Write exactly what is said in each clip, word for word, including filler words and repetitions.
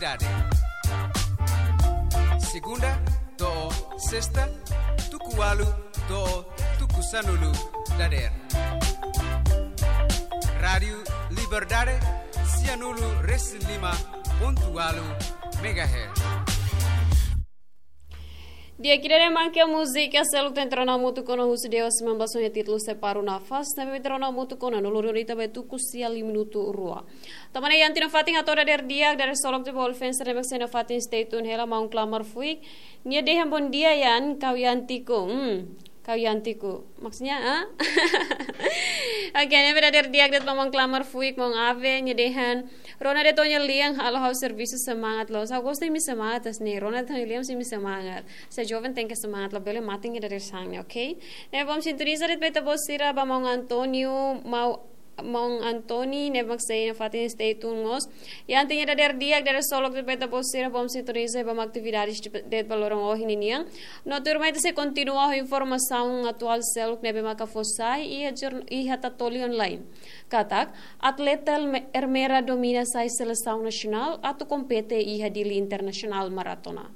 Dade. Segunda to'o sesta, tuku ualu to'o tuku sanulu dadeer. Rádiu Liberdade, sianulu resin lima pontu ualu megahertz. Di'ak, ida-ne'e mak múzika seluk ita rona hamutuk ona husi Deus membasonha títulu Separa o Nafas, ne'ebé ita rona hamutuk ona no lori ita ba tuku sia liu minutu rua. Tanba ne'e iha tiha ona fatin hato'o dadeer di'ak, dadeer solok de bol fencer ne'ebé sei iha fatin, stay tune hela, maun Klamar Fuik. Nia dehan bom dia Yan, kau Yan Tiku. Hmm, kau Yan Tiku. Maksudnya, ah? Oke, ne'ebé dadeer di'ak de'it ba maun Klamar Fuik, maun Ave, nia dehan: Rona de'it ó-nia lian, halo ha'u servisu, semangat loos. Ha'u gosta imi semangat, as ne'e. Rona de'it ó-nia lian, imi semangat. Se joven tenke semangat, labele mate iha dadeer-saan ne'e, oke? Ne'e bom sintoniza de'it ba ita-boot sira, ba maun António, mau, maun Antoni, ne'ebé mak sei iha fatin, stay tune mós. Iha tiha ona dadeer di'ak, dadeer solok de'it ba ita-boot sira, bom sintoniza ba mak atividades de'it ba loron ohin ninian. No tuirmai ita sei kontinua ho informasaun atuál seluk ne'ebé maka fó sai iha jorn-, iha Tatoli Online. Katak, atleta Erme-, Ermera domina sai selesaun nasionál atu kompete iha Dili Internasionál Maratona.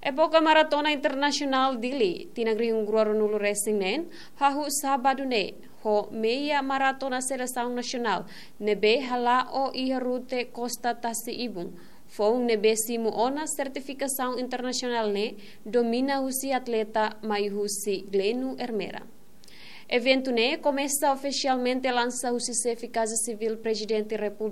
Époka Maratona Internasionál Dili, tinan rihun rua ruanulu resin neen, hahú sábadu ne'e, ho meia maratona selesaun nasionál, ne'ebé hala'o iha rute Kosta Tasi Ibun. Foun ne'ebé simu ona sertifikasaun internasionál ne'e, domina husi atleta mai husi Gleno Ermera. Eventu ne'e komesa ofisialmente lansa husi Xefe Kaza Sivíl Prezidente Repúblika